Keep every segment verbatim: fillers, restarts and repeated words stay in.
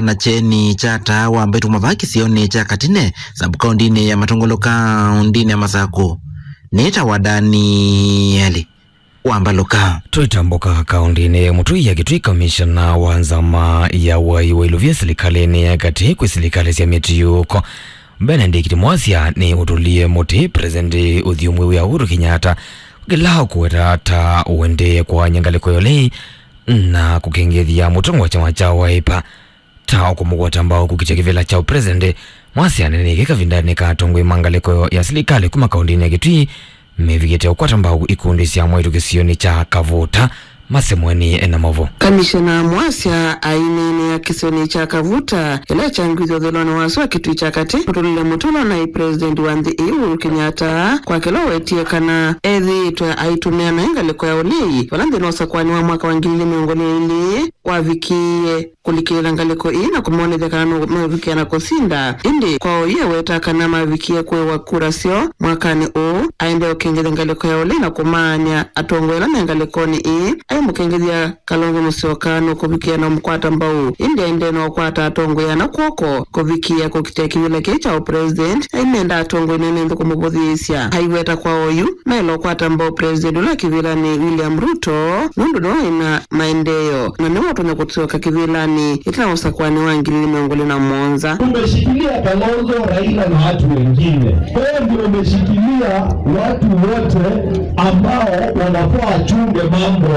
na kyeni kya taa wa Mbaitũ Mavaa kĩsionĩ kya Katine, sub-kaũndĩnĩ ya Matũngũlũ, kaũndĩnĩ ya Masakũ, nĩtawa Danieli Wambalũka. Twĩtambũka kaũndĩnĩ ya Mũtũi ya Kĩtui, kamishona wa nzama ya wai wa ilũvya silikalĩnĩ ya katĩ kwĩ silikalĩ sya mĩtiũko, Benedict Mwasya, nĩ ũtũlie mũtĩ President ũthyũmũi wĩa Uhuru Kenyatta kĩla ũkũweta ta ũendee kũany'a ngalĩko ya ũlei na kũkengethya mũtongoi wa kyama kya Wiper ta ũkũmũkwata mbau kũkitĩa kĩvĩla kya ũpresident. Mwasya aneeneie kavindanĩ ka atongoi ma ngalĩko ya silikalĩ kuma kaũndĩnĩ ya Kĩtui mevikĩte ũkwata mbau ikundi sya mwaitũ kĩsionĩ kya Kavuta. Masemweni ena mavo. Kamishona Mwasya aineenea kĩsionĩ kya Kavuta ĩla kyangwĩthwa ũthũĩlonĩ wa sua Kĩtui kya katĩ, mũtũlĩle mũtũlo naĩ president wa nthĩ ĩĩ Uhuru Kenyatta kwa kĩla ũwetie kana ethĩĩtwe aitũmĩa naĩ ngalĩko ya ũlei vala nthĩnĩ wa ũsakũani wa mwaka wa ngili ilĩ mĩongo ĩlĩ na ilĩ wavikie kũlikĩlĩla ngalĩko ĩĩ na kũmonethya kana no mevikĩa na kũsinda. Ĩndĩ kwa oyu eweta kana mavikie kũĩwa kura syoo mwakanĩ ũũ, aendee ũkengethya ngalĩko ya ũlei na kũmaany'a atongoi ala me ngalĩkonĩ ĩĩ. Aimũkengethya Kalonzo Musyoka nũkũvikĩa na ũmũkwata mbau, ĩndĩ aendee na ũkwata atongoi ana kw'oko kũvikĩa kũkitĩa kĩvĩla kĩĩ kya ũpresident. Aimenda atongoi nene nthĩ kũmũvũthĩĩsya. Aiweta kwa oyu, maĩle ũkwata mbau president ũla kĩvĩlanĩ William Ruto, nũndũ nĩwe wĩna maendeeo, na nĩwe ũtonya kũsyoka kĩvĩlanĩ ĩtina wa ũsakũani wa ngili ilĩ mĩongo ĩlĩ na mũonza. Umeshikilia Kalonzo, Raila na watu wengine. Wewe ndio umeshikilia watu wote ambao wanafaa wachunge mambo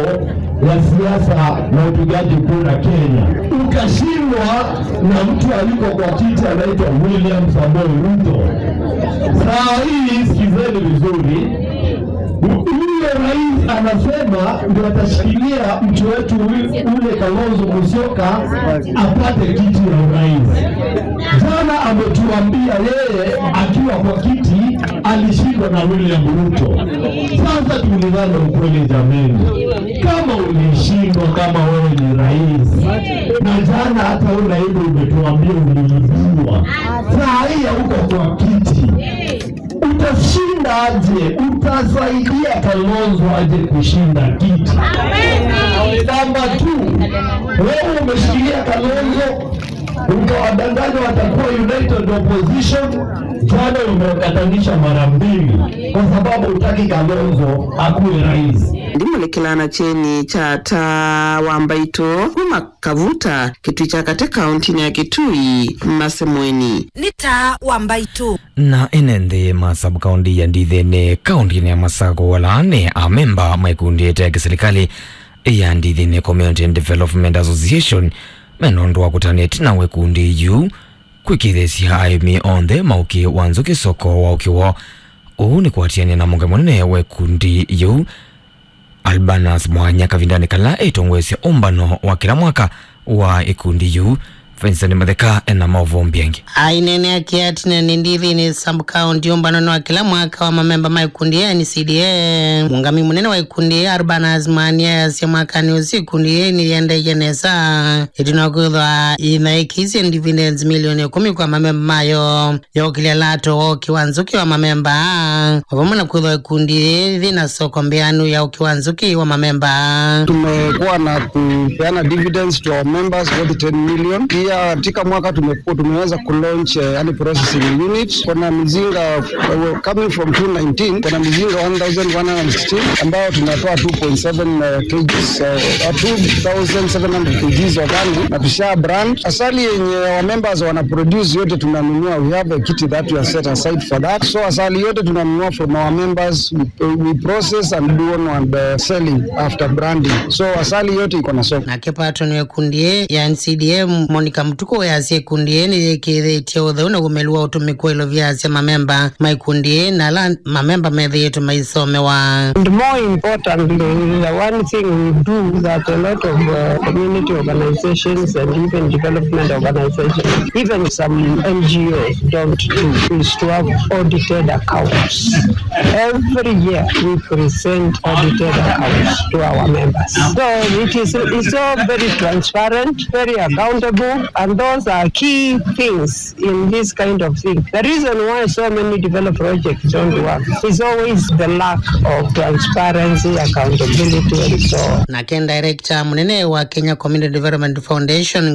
ya siasa na upigaji kura Kenya. Ukashindwa na mtu aliko kwa kiti anaitwa William Samoei Ruto. Saa hii sikizeni vizuri. Yule rais anasema ndio atashikilia mtu wetu ule Kalonzo Musyoka apate kiti ya urais. Jana ametuambia yeye akiwa kwa kiti alishindwa na William Ruto. Sasa tuulizane ukweli jameni, kama ulishindwa, kama wewe ni rais, na jana hata una hivyo umetuambia uliibiwa, saa hii hauko kwa kiti, utashinda aje? Utasaidia Kalonzo aje kushinda kiti? Namba two, wewe umeshikilia Kalonzo, ukawadanganya watakuwa united opposition. Jana umewakatanisha mara mbili kwa sababu hutaki Kalonzo akuwe rais. Ndimũlĩkĩlaa na kyeni kya taa wa Mbaitũ kuma Kavuta, Kĩtui kya katĩ, kaũntĩnĩ ya Kĩtui, Masemweni. Nĩ taa wa Mbaitũ. Na ene nthĩ ma sub-kaũntĩ ya Ndithĩnĩ, kaũntĩnĩ ya Masakũ, ala nĩ amemba ma ikundi ĩte ya kĩsilikalĩ ya Ndithĩnĩ Community Development Association, mena ũndũ wa kũtanĩa ĩtina wa ikundi yu kwĩkĩĩthĩsya aĩmi onthe ma ũkĩ wa nzũkĩ soko wa ũkĩ woo. Ũu nĩ kũatĩanĩa na mũngai mũnene wa ikundi yĩu, Albanus Mwanya, kavindanĩ kala ĩtongoesya ũmbano wa kĩla mwaka wa ikundi yĩu. Vincent Matheka ena maũvoo mbingĩ. Aineenea kĩatinanĩ Ndithĩnĩ sub-county ũmbanonĩ wa kĩla mwaka wa mamemba ma ikundi ya N C D A, mũũngamĩi mũnene wa ikundi, Albanus Mwanya, easya mwakanĩ ũsu ikundi yĩĩ nĩyĩendeeie nesa ĩtina wa kwĩthwa yĩnaĩkĩisye dividends milioni ĩkũmi kwa mamemba mayo ya ũkĩlya lato wa ũkĩ wa nzũkĩ wa mamemba, o vamwe na kwĩthwa ikundi yĩĩ yĩna soko mbĩanu ya ũkĩ wa nzũkĩ wa mamemba. Tumekuwa na kupeana dividends to our members, worth ten million. Pia katika mwaka tumekuwa, tumeweza kulaunch, eh, yani processing unit. Kuna mizinga, eh, coming from two nineteen, kuna mizinga one thousand one hundred sixteen ambayo tunatoa two point seven, eh, kgs, eh, two thousand seven hundred kgs of honey na tusha brand. Asali yenye our members wana produce yote tunanunua. We have a kitty that we have set aside for that. So asali yote tunanunua from our members, we, we process and do on and, uh, selling after branding. So asali yote iko na soko. Nake patron wa ikundi ĩĩ ya N C D A, Monica Mutuku, easya ikundi ĩĩ nĩyĩkĩĩthĩtye ũtheu na ũmĩlu wa ũtũmĩku wa ilovia sya mamemba ma ikundi ĩĩ na ala mamemba methĩĩtwe maisomewa. And more importantly, the one thing we do that a lot of, uh, community organizations and even development organizations, even some N G Os don't do, is to have audited accounts. Every year we present audited accounts to our members. So it is, it's all very transparent, very accountable, and those are key things in this kind of thing. The reason why so many developed projects don't work is always the lack of transparency, accountability, and so on. Nake director mũnene wa Kenya Community Development Foundation,